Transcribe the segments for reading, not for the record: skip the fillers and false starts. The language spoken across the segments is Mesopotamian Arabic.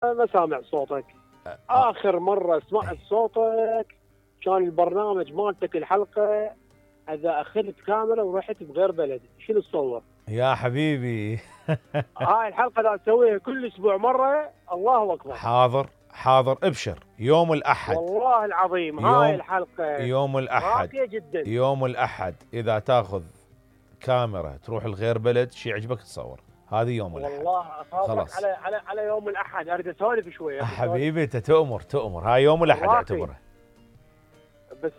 ما سامع صوتك. اخر مره سمعت صوتك كان البرنامج مالتك الحلقه اذا اخذت كاميرا ورحت بغير بلد، شنو تصور؟ يا حبيبي هاي الحلقه لا تسويها كل اسبوع مره، الله اكبر. حاضر حاضر، ابشر يوم الاحد والله العظيم هاي الحلقه يوم الاحد راقيه جدا. يوم الاحد اذا تاخذ كاميرا تروح لغير بلد شي يعجبك تصور، هذه يوم الاحد. والله اخاطرك خلاص على يوم الاحد اريد اسولف شويه. حبيبي انت تؤمر هاي يوم الاحد اعتبره. بس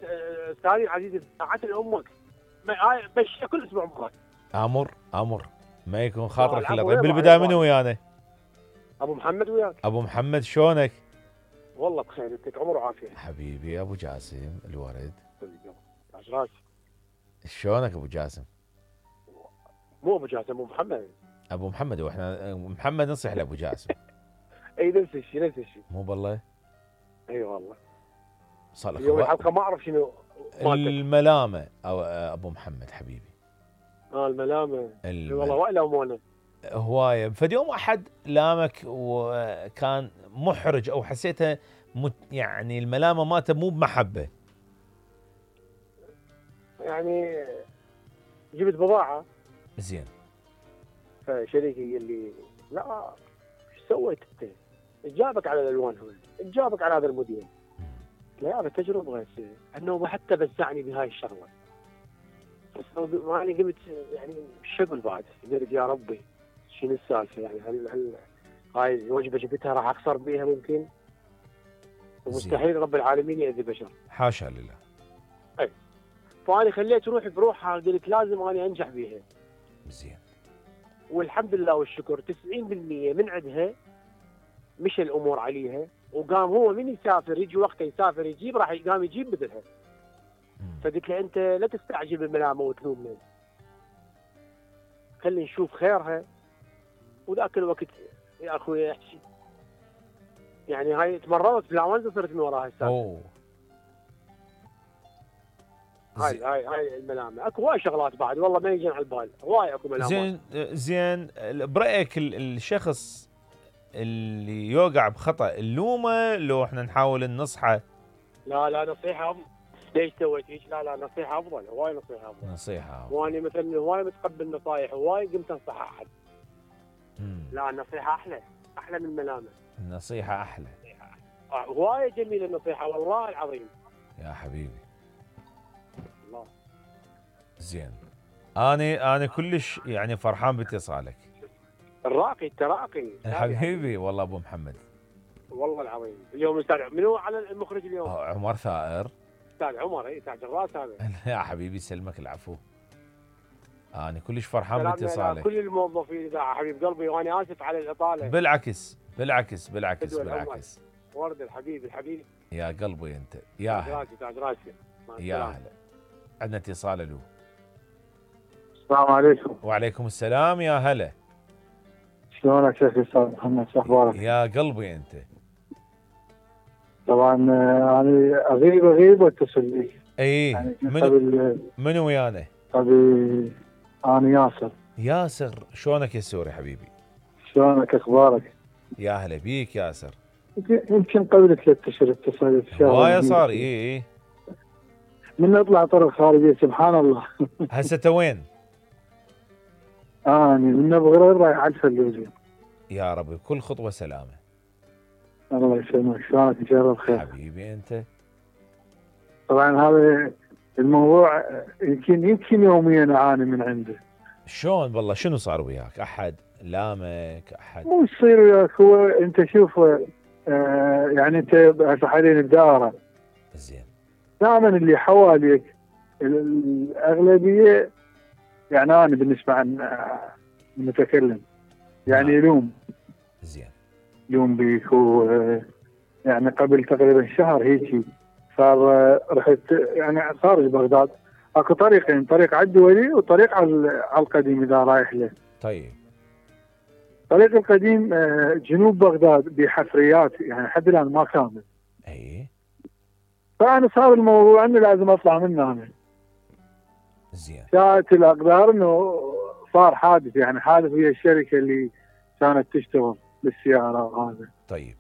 استاذي العزيز ساعات لامك بس كل اسبوع مره. امر ما يكون خاطرك الا طيب. بالبدايه منو ويانا؟ ابو محمد وياك. ابو محمد شلونك؟ والله بخير، يعطيك عمر وعافيه حبيبي ابو جاسم الورد. تاج راسي. شلونك ابو جاسم؟ مو ابو جاسم، ابو محمد. ابو محمد، واحنا محمد نصيح لابو جاسم. اي نفس الشيء. مو بالله؟ اي والله. صار لك يوم الحلقه ما اعرف شنو الملامه او ابو محمد حبيبي. الملامه والله وايد امونه هوايه. فد يوم احد لامك وكان محرج او حسيتها يعني الملامه مالته مو بمحبه. يعني جبت بضاعه زين، فشريكي قال لي لا ايش سويت انت؟ جابك على الالوان هذول، جابك على هذا الموديل. لا هذا تجربه، انه حتى بزعني بهاي الشغله. بس ماني قمت يعني شغل بعد، قلت يا ربي شنو السالفه يعني؟ هل هاي الوجبه جبتها راح اخسر بيها ممكن؟ ومستحيل رب العالمين يأذي بشر. حاشا لله. اي فانا خليت روحي بروحها، قلت لازم اني انجح بيها. زين. والحمد لله والشكر 90% من عندها مشى الامور عليها، وقام هو من يسافر يجي وقته يسافر يجيب راح قام يجيب مثلها. فقلت له انت لا تستعجل بالملامه وتلومنا، خلي نشوف خيرها. وذاك الوقت يا اخوي احكي يعني هاي تمرضت في العوانزه صرت من وراها السالفه. هاي الملامه. اكو هواي شغلات بعد والله ما يجي على البال، هواي اكو ملامات. زين برايك الشخص اللي يوقع بخطا اللومه لو احنا نحاول ننصحه؟ لا نصيحه ليش سويت هيك؟ لا نصيحه افضل، هواي نصيحه افضل. وانا مثلا هواي متقبل نصايح، هواي قمت انصح احد. لا النصيحه احلى من الملامه. النصيحه احلى. هواي جميله النصيحه والله العظيم يا حبيبي. الله. زين، انا كلش يعني فرحان باتصالك. التراقي حبيبي والله ابو محمد. والله العظيم. اليوم استاذ منو على المخرج اليوم؟ عمر ثائر. استاذ عمر. اي تاج الراس هذا. يا حبيبي سلمك العفو. انا كلش فرحان باتصالك. كل الموظفين الاذاعه حبيب قلبي، وانا اسف على الاطاله. بالعكس. ورد الحبيب يا قلبي انت. يا هلا. تاج راسي. يا هلا. عندنا اتصال. له. السلام عليكم. وعليكم السلام. يا هلا. شلونك شيخ استاذ محمد؟ شو اخبارك؟ يا قلبي انت. طبعا انا اغيب واتصل بيك. اي يعني منو ويانا؟ ابي انا ياسر. شلونك يا سوري حبيبي؟ شلونك اخبارك؟ يا هلا بيك ياسر. يمكن قبل 3 اشهر اتصلت. هوايه صار. اي من اطلع طرق خارجيه سبحان الله. هسه وين؟ اني من بغرير رايح على الفلوجه. يا ربي كل خطوه سلامه. الله يسلمك. شلونك؟ ان شاء الله بخير حبيبي انت. طبعا هذا الموضوع يمكن يوميا اعاني من عنده. شلون والله؟ شنو صار وياك؟ احد لامك؟ احد مو يصير وياك. هو انت شوف يعني انت هسه حاليا بدائره. زين. دائما اللي حواليك الاغلبيه يعني انا بالنسبه عن المتكلم يعني يلوم. زين. يلوم بيك. يعني قبل تقريبا شهر هيك صار رحت يعني خارج بغداد. اكو طريقين، طريق على الدولي وطريق على القديم اذا رايح له. طيب. الطريق القديم جنوب بغداد بحفريات يعني لحد الان ما كامل. اي. فانا صار الموضوع انه لازم اطلع منه انا. زين. شاءت الاقدار انه صار حادث، يعني حادث ويا الشركه اللي كانت تشتغل. بالسياره وهذا. طيب